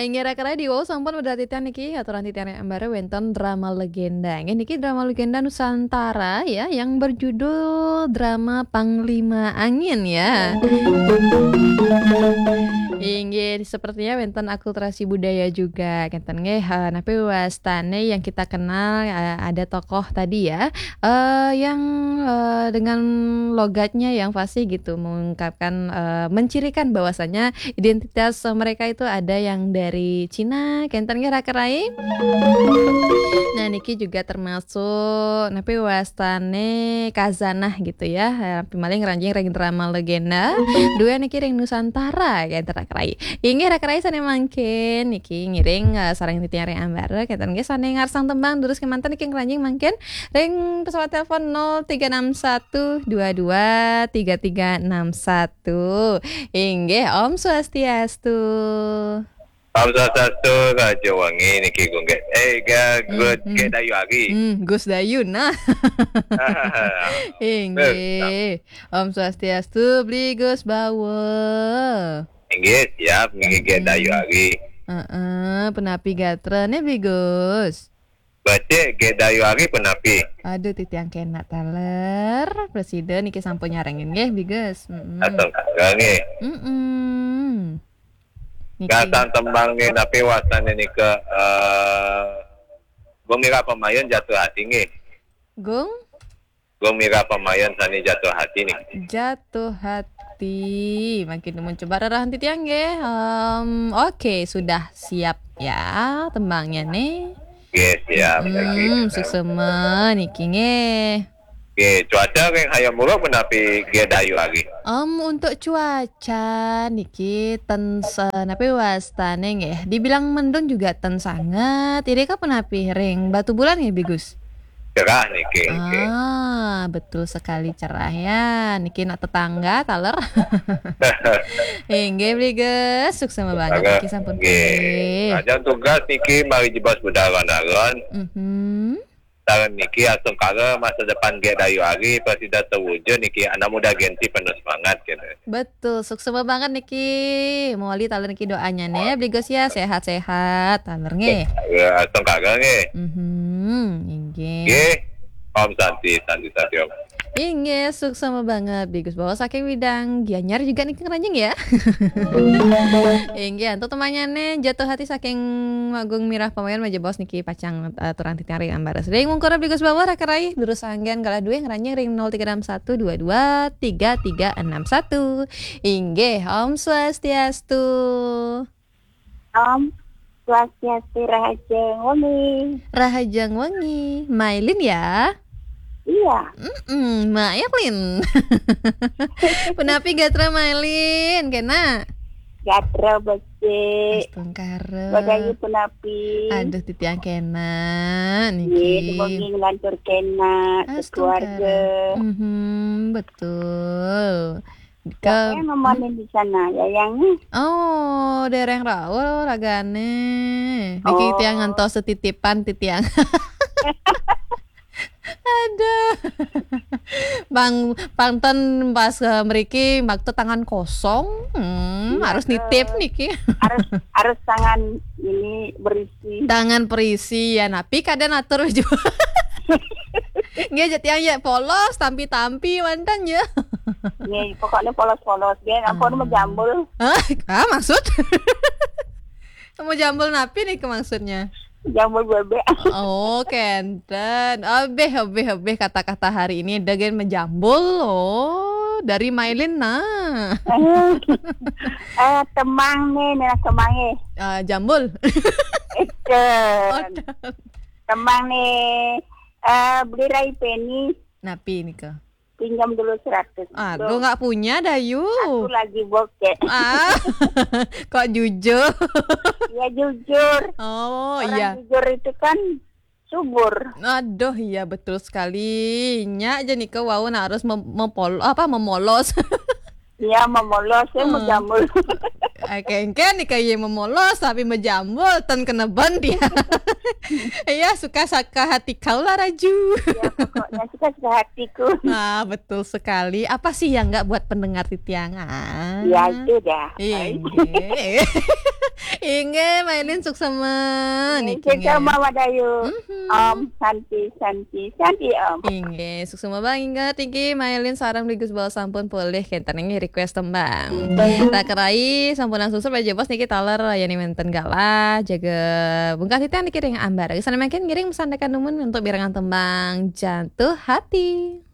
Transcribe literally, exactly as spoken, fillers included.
Inggih, rekan-rekan, wau sampun medal titiang niki, aturan titiang ring ambar wénten drama legenda. Inggih, niki drama legenda Nusantara ya, yang berjudul drama Panglima Angin ya. Inggih, sepertinya wénten akulturasi budaya juga, kénten nggih. Eh, napi wastané yang kita kenal, eh, ada tokoh tadi ya, eh, yang, eh, dengan logatnya yang fasih gitu, mengungkapkan, eh, mencirikan bahwasanya identitas, eh, mereka itu ada yang dari Cina, kénten nggih, rekan-rekan. Nah, niki juga termasuk napi wastané khazanah gitu ya. Eh, napi malih ngranjing ring drama legenda. Duén niki ring Nusantara, kénten, rekan-rekan. Inggih, rekan-rekan, sané mangkin niki ngiring, eh, sareng titiang ring ambar, kénten nggih, sané ngarsang tembang durus kémanten niki ngranjing mangkin ring pesawat telepon nol tiga enam satu dua dua tiga tiga enam satu. Inggih, Om Swastiastu. Om Swastiastu, Raja Wangi niki Gung Gé-, eh, ga-, Gus Hmm, hmm. Gé Dayu Ari. Hmm, Gus Dayu, nah. Inggih. Om Swastiastu, Bli Gus Bawa. Inggih, siap, niki Gé Hmm. Dayu Ari. Heeh, punapi gatrané, Bli Gus? Becik, Gé Dayu Ari punapi? Aduh, titiang kénak taler. Presida niki sampun nyarengin nggih, Bli Gus. Mm-mm. Astungkara nggih. Mm-mm. Niki. Ngarsang tembang nggih, napi wastané nika, eh, Gung Mira Pamayun Jatuh Hati nggih. Gung? Gung Mira Pamayun sané Jatuh Hati niki. Jatuh Hati. Mangkin nuwun coba rerahang titiang nggih. Em, oke, sudah siap ya tembangnyané. Nggih, siap. Hmm, suksema niki nggih. Nggih, cuaca ring Hayam Wuruk punapi Gé Dayu Ari? Em, untuk cuaca niki ten se-, napi wastané nggih. Dibilang mendung juga ten sanget. Irika punapi ring Batubulan nggih, Bli Gus? Cerah niki, nggih. Ah, betul sekali, cerah ya. Niki nak tetangga taler. Inggih, Bli Gus, suksema banget niki sampun nggih. Pulih. Lajeng tugas niki mari jebos Budaran Aron. Mhm. Sareng niki astungkara masa depan Gé Dayu Ari prasida terwujud niki, anak muda Gen Z penuh semangat gitu. Betul, suksema banget niki. Mawali taler niki doanyané, Bli Gus ya, sehat-sehat taler nggih. Ya, astungkara nggih. Mhm, inggih. Nggih. Om Santi, Santi, Santi Om. Inggih, suksema banget, Bli Gus Bawa saking Widang Gianyar juga niki ngranjing ya. Inggih, antuk tembangnyané Jatuh Hati saking Gung Mira Pamayun majebos niki pacang, eh, aturang titiang ring ambar. Ring wungkul Bli Gus Bawa, rekan-rekan, durus anggén galah dué ngranjing ring nol tiga enam satu dua dua tiga tiga enam satu. Inggih, Om Swastiastu. Om Swastiastu, Rahajeng Wengi. Rahajeng Wengi. Mailin ya? Iya. Mm-mm, Mailin. Punapi gatra Mailin, kénak? Gatra becik. Astungkara. Badayu punapi? Aduh, titiang kénak niki. Nggih, mugi nglantur kénak, astungkara, sekeluarga. Mhm, betul. Siapa yang nemenin di sana? Yayangnya? Oh, dereng rauh ragané. Niki, oh, tiang ngantos titipan titiang. Aduh. Bang, pang ten pas, eh, mriki makta tangan kosong. Hmm, iya, harus nitip niki. Harus, harus tangan ini berisi. Tangan berisi ya, napi kadén atur juga. Nggih, jek tiang ya polos, tampi-tampi wénten ya. Nggih, pokoknya polos-polos nggih, ampun, ah, majambul. Hah? Ah, maksud? Majambul napi nih maksudnya? Jambul bébék. Oh, kénten. Abih, abih, abih, kata-kata hari ini daging majambul. Oh, dari Mailin nah. Eh, temang nih, nih temang nih. Ah, jambul. Itu. Oh, tem- temang nih. Eh, beli rai peni. Napi nika? Pinjam dulu seratus. Aduh, nggak punya, Dayu. Aku lagi bokek. Ah, kok jujur? Ya, jujur. Oh, orang iya. Jujur itu kan subur. Aduh, iya, betul sekali. Nya aja nika wau nah harus mem-, mempol-, apa, memolos. Iya, memolos, ya, hmm, majambul. Oke, engke nika iya memolos, tapi majambul, ten kena ban dia. Iya, suka-suka hati kau lah, Raju. Ya, pokoknya suka-suka hatiku. Ah, betul sekali. Apa sih yang nggak buat pendengar titiang? Ah. Ya, itu dah. Iya. Inggih, Mailin suksma. Niki, Suksma Madayu. Mhm. Om Santi, Santi, Santi Om. Inggih, suksma banget. Niki Mailin sareng Ligus Bawah sampun polih kenten niki request tembang. Takerai sampun langsung sampai jebos niki taler yani wenten galah jaga bungkah titian niki ring ambar. Sana makin ngiring pesan tekan dumun untuk birangan tembang Jatuh Hati.